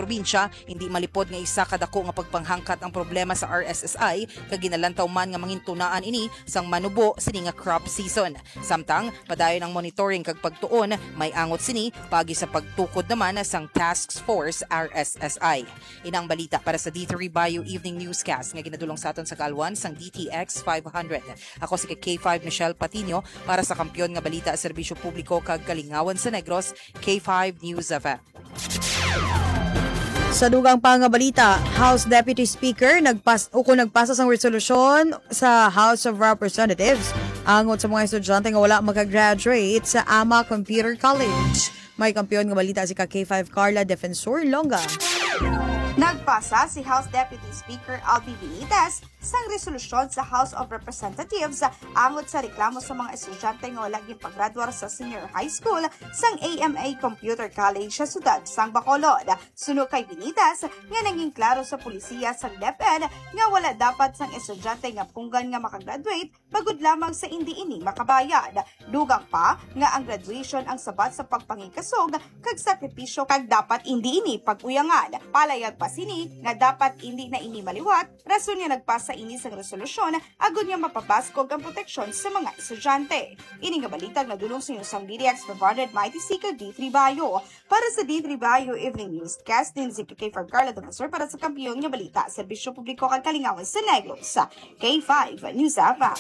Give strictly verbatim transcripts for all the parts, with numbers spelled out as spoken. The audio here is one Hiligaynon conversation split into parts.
probinsya, hindi malipod nga isa ka dako nga pagpanghangkat ang problema sa R S S I, kag ginalantaw man nga mangintunaan ini sang manubo sini nga crop season. Samtang, padayon ang monitoring kag pagtuon, may angot sini paagi sa pagtukod naman sang Task Force R S S I. Inang balita para sa D three Bio Evening Newscast nga ginadulong sa aton sa kaalwan sang D T X five hundred. Ako si K five Michelle Patino para sa Kampiyon nga Balita, Serbisyo Publiko kag Kalingawan sa Negros, K five News F M. Sa dugang pa nga balita, House Deputy Speaker nagpas ukon nagpasa sang resolusyon sa House of Representatives angot sa mga estudyante nga wala makagraduate sa Ama Computer College. May kampiyon nga balita si ka K five Carla Defensor Longa. Nagpasa si House Deputy Speaker Albi Benitez sang resolusyon sa House of Representatives angot sa reklamo sa mga estudyante nga wala ginpagradwar sa senior high school sang A M A Computer College sa siyudad sang Bacolod. Suno kay Benitez, nga naging klaro sa pulisiya sang DepEd nga wala dapat sang estudyante nga punggan nga makagraduate bangod lamang sa indi ini makabayad. Dugang pa nga ang graduation ang sabat sa pagpangigkasog kag sakripisyo kag dapat indi ini pag-uyangan. Palayag pa sini nga dapat indi na ini maliwat, rason nga nagpasa ini sang resolusyon agud nga mapabaskog ang proteksyon sa mga estudyante. Ini nga balita nadulong sa inyo sang D T X five hundred Mighty Seeker D three Bayo. Para sa D three Bayo Evening Newscast, din si K five Carla Defensor para sa Kampiyon nga Balita, Serbisyo Publiko kag Kalingawan sa Negros, K five News F M.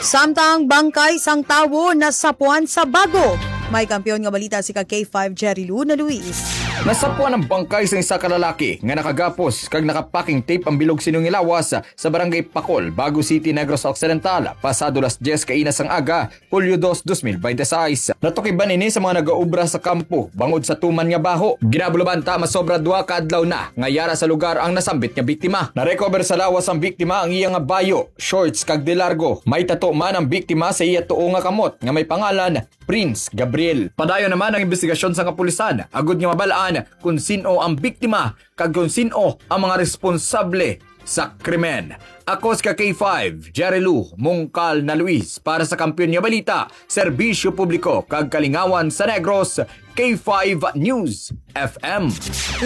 Samtang bangkay sang tawo nasapuan sa Bago, may kampiyon nga balita si ka K five Jerry Luna Luis. Nasapuan ang bangkay sang isa ka lalaki nga nakagapos kag naka-packing tape ang bilog sini nga lawas sa Barangay Pacol, Bago City, Negros Occidental, pasado las dyes kaina sang aga, Hulyo dos, dos mil bente seis. Natukiban ini sa mga nagaobra sa kampo bangod sa tuman nga baho. Ginabulabanta masobra duha ka adlaw na nga yara sa lugar ang nasambit nga biktima. Na-recover sa lawas sang biktima ang iya nga bayo, shorts kag de largo. May tato man ang biktima sa iya tuo nga kamot nga may pangalan Prince Gabriel. Padayon naman ang imbestigasyon sa kapulisan agud nga mabal-an kon sin-o ang biktima kag kon sin-o ang mga responsable sa krimen. Ako si ka K five, Jerry Lou Mungkal na Luis, para sa Kampiyon nga Balita, Serbisyo Publiko kag Kalingawan sa Negros, K five News F M.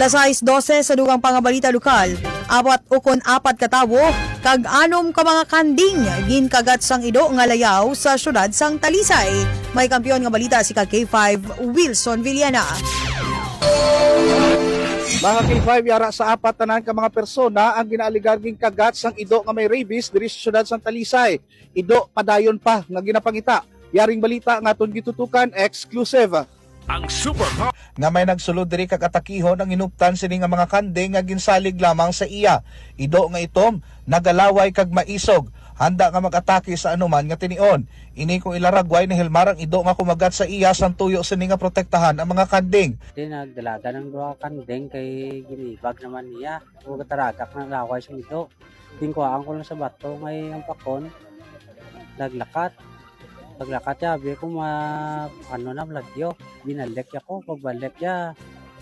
Las sais dose sa dugang pa nga balita lokal, apat ukon apat ka tawo kag anom ka mga kanding ginkagat sang ido nga layaw sa siyudad sang Talisay. May kampiyon nga balita si ka K five, Wilson Villena. Mga K five, yara sa apat tanan ka mga persona ang ginaaligar ginkagat sang ido nga may rabies diri sa siyudad sang Talisay. Ido padayon pa nga ginapangita. Yaring balita nga aton gitutukan, exclusive. Ang Super Hot nga may nagsulod diri kag atakihon ang hinuptan sini nga mga kanding nga ginsalig lamang sa iya. Ido nga itom, nagalaway kag maisog, handa nga mag-atake sa anuman nga tinion. Ini kung ilaragway ni Helmar ang ido nga kumagat sa iya sang tuyo sini nga protektahan ang mga kanding. Di nagdalagan ang duha ka kanding kay ginibag naman niya. Ug taragak na laway sa ido. Ginkuhaan ko lang sa bato ngay ang pakon. Naglakat. Paglakat ya, abi ko ma-, ano na, malagyo. Binalik ya ko. Pagbalik ya,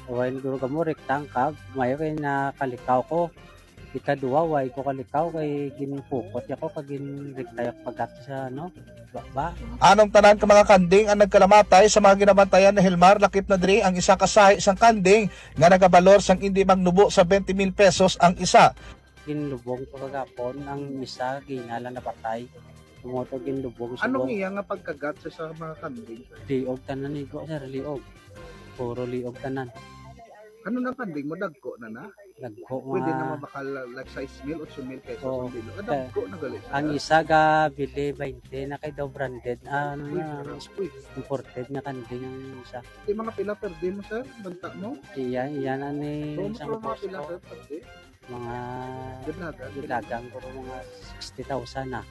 awain guro ka mo, rektang kag. Mayo kay nakalikaw ko. Ikaduha, way ko kalikaw kay ginpukot ya ko kag ginrekta ya ko pagati sa, ano, baba. Anong tanan ka mga kanding ang nagkalamatay sa mga ginabantayan ni Helmar, lakip na diri ang isa ka sahi sang kanding nga nagabalor sang indi magnubo sa twenty mil pesos ang isa. Ginlubong ko kagapon, ang isa gina lang napatay. Tungod ko ginlubong sa Anong buhok. Iya nga pagkagat sa, sa mga kanding? Liog tanan igo, sir, liog. Puro liog tanan. Ano na kanding mo? Dagko na na? Dagko Pwede nga na mabakal, like, sais mil, otso mil pesos Oo. ang kilo. Ah, dagko na gali siya. Ang isa ga bili twenty na kay daw branded. Ah, ano Uy, na, sarap. Uy. Imported na kanding ang isa. Di mga pila per day mo, sir? Banta mo? Iya, iya na ni Bro, isang mga pila, boss ko. Sir, per day? Mga Gidlagan. Gidlagan ko mga sixty thousand na.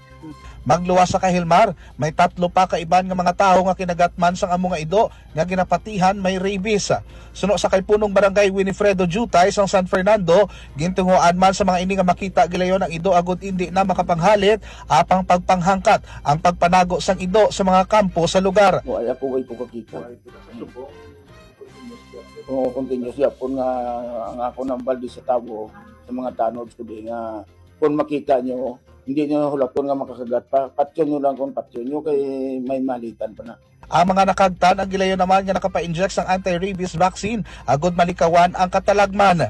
Magluwas sa kay Helmar, may tatlo pa ka iban nga mga tawo nga kinagat man sang amo nga ido nga ginapatihan may rabies. Suno sa kay Punong Barangay Winifredo Jutay sang San Fernando, gintunguan man sa mga ini nga makita gilayon ang ido agud indi na makapanghalit apang pagpanghangkat ang pagpanago sang ido sa mga kampo sa lugar. Mo ay ako way ko kakita. Oo, continuous yapon nga ang ako nang baldi sa tawo sa mga tanod ko di nga kung makita nyo, hindi nyo hulapon nga makakagat pa, patyon nyo lang kung patyon nyo kay may malitan pa na. Ang mga nakagtan ang gilayon naman nga nakapa-inject sang anti-rabies vaccine agud malikawan ang katalagman.